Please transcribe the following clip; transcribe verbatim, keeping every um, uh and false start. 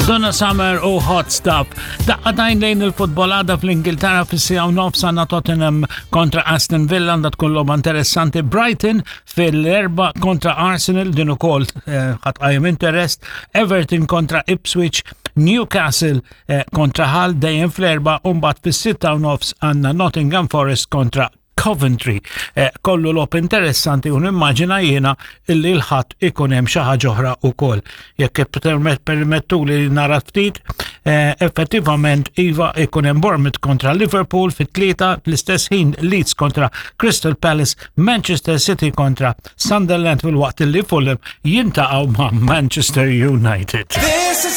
Donna Summer u Hot Stuff. Daqqa t'għajn lejn il-futbol għada fl-Ingilterra fis-siegħa u nofs għandna Tottenham kontra Aston Villa, għandha tkun logħba interessanti. Brighton fil-erbgħa kontra Arsenal, din ukoll eh, ħa tqajjem interest. Everton kontra Ipswich, Newcastle eh, kontra Hull dejjem fl-erbgħa u mbagħad fis-sitta u nofs għandna Nottingham Forest kontra Coventry. Eh, kollu logħob interessanti u nimmaġina jiena illi l-Ħadd ikun hemm xi ħaġa oħra wkoll. Jekk permettu li nara ftit, eh, effettivament iva, ikun hemm Bournemouth kontra Liverpool fit-tlieta, fl-istess ħin Leeds kontra Crystal Palace, Manchester City kontra Sunderland, fil-waqt li Fulham jiltaqgħu ma' Manchester United. This is